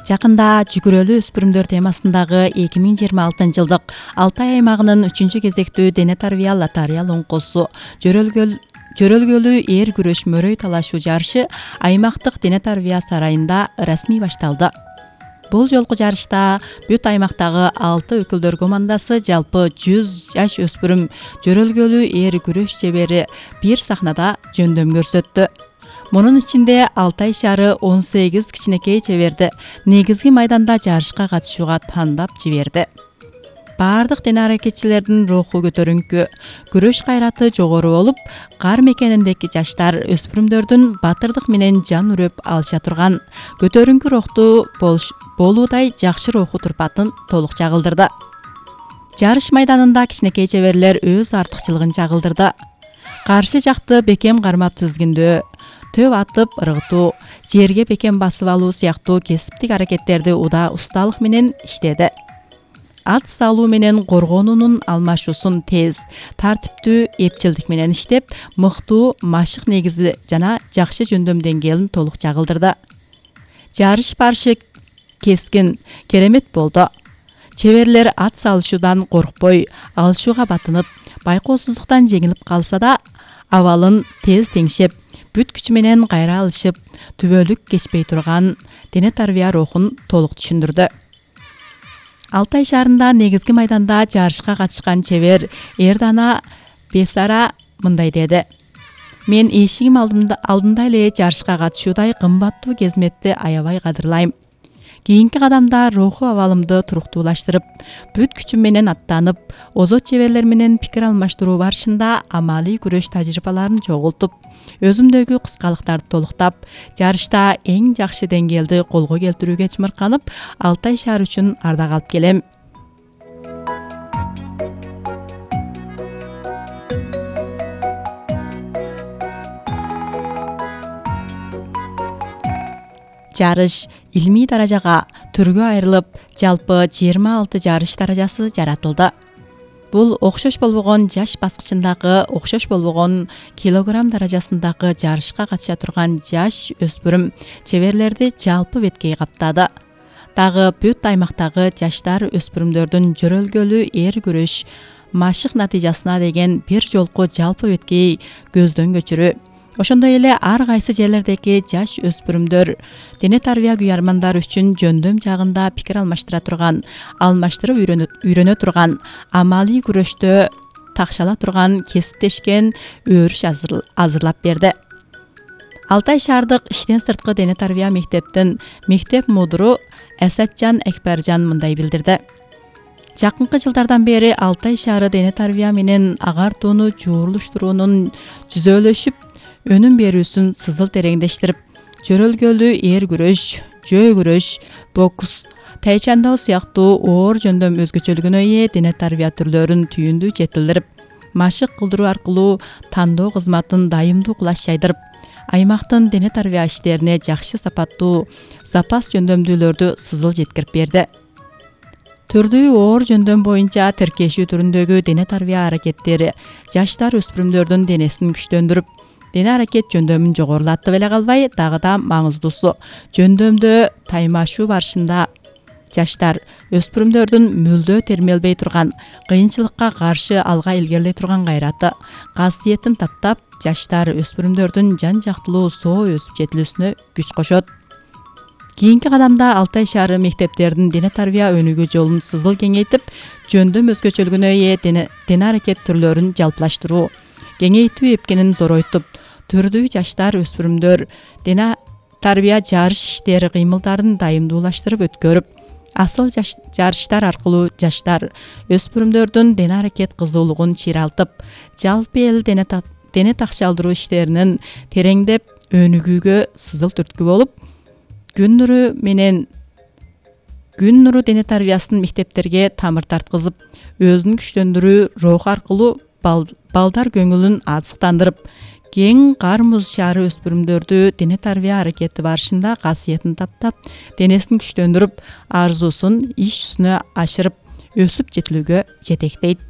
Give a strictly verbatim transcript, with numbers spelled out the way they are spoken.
Жакында жүгүрөлүү өспүрүмдөр темасындагы эки миң жыйырма алтынчы жылдык Алтай аймагынын үчүнчү кезектүү дене тарбия лотария лоңкосу жөрөлгөл жөрөлгөлүү эр күрөш мөрөй талашуу жарышы аймактык дене тарбия сарайында расмий башталды. Бул жолку жарышта бүт аймактагы алты өкүлдөр командасы жалпы жүз жаш өспүрүм жөрөлгөлүү эр күрөш чебери бир сахнада жөндөм көрсөттү. Мунун ичинде Алтай шаары он сегиз кичинекей чеберди негизги майданда жарышка катышууга тандап жиберди. Бардык дене аракетчилердин руху көтөрүңкү, күрөш кайраты жогору болуп, кар мекениндеги жаштар өспүрүмдөрдүн батырдык менен жан үрөп алыша турган көтөрүңкү рухтуу болуудай жакшы руху турпатын толук чагылдырды. Жарыш майданында кичинекей чеберлер өз артыкчылыгын чагылдырды. Каршы жакты бекем кармап тизгиндөө, төп атып ыргытуу, жерге бекем басып алуу сыяктуу кесиптик аракеттерди уда усталык менен иштеди. Ат салуу менен коргонуунун алмашуусун тез, тартиптүү эпчилдик менен иштеп, мыктуу машык негизи жана жакшы жөндөм деңгээлин толук чагылдырды. Жарыш барышы кескин, керемет болду. Чеберлер ат салышуудан коркпой, алышууга батынып, байкоосуздуктан жеңилип калса да, абалын тез теңшеп, бүт күчү менен кайра алышып, түбөлүк кечпей турган дене тарбия рухун толук түшүндүрдү. Алтай шаарында негизги майданда жарышка катышкан чебер Эрдана Бесара мындай деди: "Мен эшигим алдында эле жарышка катышуудай кымбаттуу кезметти аябай кадырлайм. Кийинки кадамда руху абалымды туруктуулаштырып, бүт күчүм менен аттанып, озот чеберлер менен пикир алмаштыруу барышында амалий күрөш тажрыйбаларын чогултуп, өзүмдөгү кыскалыктарды толуктап, жарышта эң жакшы деңгээлди колго келтирүүгө чымырканып, Алтай шаары үчүн ардак алып келем. Жарыш илмий даражага түргө айрылып, жалпы жыйырма алты жарыш даражасы жаратылды. Бул окшош болбогон жаш баскычындагы, окшош болбогон килограмм даражасындагы жарышка катыша турган жаш өспүрүм чеберлерди жалпы беткей каптады. Дагы бүт аймактагы жаштар өспүрүмдөрдүн жөрөлгөлүү эр күрөш машык натыйжасына деген бир жолку жалпы беткей көздөн көчүрүү. Ошондой эле ар кайсы жерлердеги жаш өспүрүмдөр дене тарбия күйармандары үчүн жөндөм жагында пикир алмаштыра турган, алмаштырып үйрөнө турган, амалий күрөштө такшала турган кесиптешкен өрүш азырлап берди. Алтай шаардык иштен сырткы дене тарбия мектептин мектеп мудуру Асатжан Экбержан мындай билдирди: "Жакынкы жылдардан бери Алтай шаары дене тарбия менен агартууну жуурулуштуруунун жүзөлөшүп, өнүм берүүсүн сызыл тереңдештирип, жөрөлгөлүү эр күрөш, жөө күрөш, бокс, тайчандоо сыяктуу оор жөндөм өзгөчөлүгүнө ээ дене тарбия түрлөрүн түйүндүү жетилдирип, машык кылдыруу аркылуу тандоо кызматын дайымдуу кулаш жайдырып, аймактын дене тарбия иштерине жакшы сапаттуу запас жөндөмдүүлөрдү сызыл жеткирип берди. Түрдүү оор жөндөм боюнча тиркешүү түрүндөгү дене тарбия аракеттери жаштар өспүрүмдөрдүн денесин күчтөндүрүп, дене аракет жөндөмүн жогорулатып эле калбай, дагы да маңыздуусу, жөндөмдө таймашуу барышында жаштар өспүрүмдөрдүн мүлдө термелбей турган, кыйынчылыкка каршы алга илгерилей турган кайраты, касиетин таптап, жаштар өспүрүмдөрдүн жан жактылуу соо өсүп жетилүүсүнө күч кошот. Кийинки кадамда Алтай шаары мектептердин дене тарбия өнүгүү жолун сызыл кеңейтип, жөндөм өзгөчөлүгүнө ээ дене, дене аракет түрлөрүн жалпылаштыруу, кеңейтүү эпкенин зоройтуп, түрдүү жаштар өспүрүмдөр дене тарбия жарыш иштери кыймылдарын дайымдуулаштырып өткөрүп, асыл жарыштар аркылуу жаштар өспүрүмдөрдүн дене аракет кызуулугун чыйралтып, жалпы эл дене, дене такшалдыруу иштеринин тереңдеп өнүгүүгө сызыл түрткү болуп, күн нуру менен күн нуру дене тарбиясын мектептерге тамыр тарткызып, өзүн күчтөндүрүү руху аркылуу балдар көңүлүн азыктандырып, кең кар муз шаары өспүрүмдөрдү дене тарбия аракети барышында касиетин таптап, денесин күчтөндүрүп, арзуусун иш жүзүнө ашырып, өсүп жетилүүгө жетектейт.